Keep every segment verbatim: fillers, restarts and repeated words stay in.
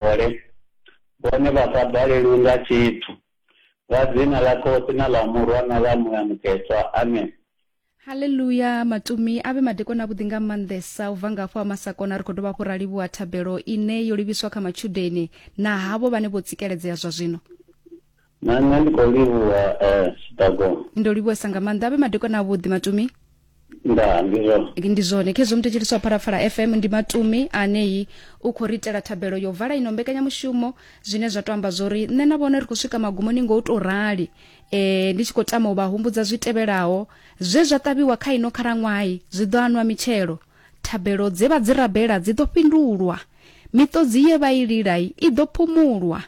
Vhone vhone vha sa balelwi nga tshithu. Nga dzina ḽa Khotsi na ḽa Murwa na ḽa Muya Mukhethwa. Amen. Haleluya Matumi a vhe madekwana avhuḓi nga maanḓesa u bva nga hafho ha Masakona. Ri khou dovha hafhu ra livhuwa thabelo ine yo livhiswa kha matshudeni na havho vhane vho tsikeledzea zwa zwino. Na nṋe ndi khou livhuwa eh Tshiṱagong. Ndo livhuwesa nga maanḓa. A vhe madekwana avhuḓi Matumi. Ndaa, ndi zwone. Ndi zwone khezwo muthetshelesi wa Phalaphala F M ndi Matumi anei u khou ri itela thabelo yo vala ino mbekanyamushumo, zwine zwa to amba zwori nṋe na vhone ri khou swika magumoni ngo u to rali. E, ndi tshi khou tama u vha humbudza zwi tevhelaho zwe zwa ṱavhiwa kha ino khalaṅwaha zwi ḓo anwa mitshelo, thabelo dze vha dzi rabela dzi ḓo fhindulwa, miṱodzi ye vha i lila i ḓo phumulwa.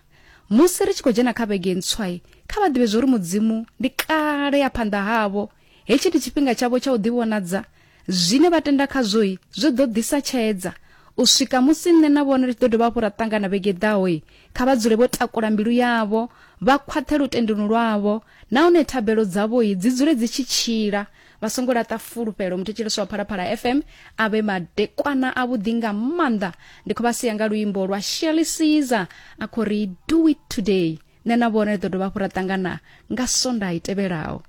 Musi ri tshi khou dzhena kha vhege ntswa, kha vha ḓivhe zwori Mudzimu ndi kale ya phanḓa havho. Hetshi ndi tshifhinga tshavho tsha u ḓivhonadza. Zwine vha tenda khazwo zwi ḓo ḓisa tshedza. U swika musi nṋe na vhone ri tshi ḓo dovha hafhu ra ṱangana vhege ḓaho, kha vha dzule vho takula mbilu yavho, vha khwaṱhe lutendoni lwavho, nahone thabelo dzavho dzi dzule dzi tshi tshila. Vha songo laṱa fulufhelo. Muthetshelesi wa Phalaphala F M a vhe madekwana avhuḓi nga maanḓa. Ndi khou vha sia nga luimbo lwa Shirley Caesar a khou ri do it today. Nṋe na vhone ri ḓo dovha hafhu ra ṱangana nga Sondaha i tevhelaho.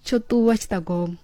Tsho ṱuwa Tshiṱagong.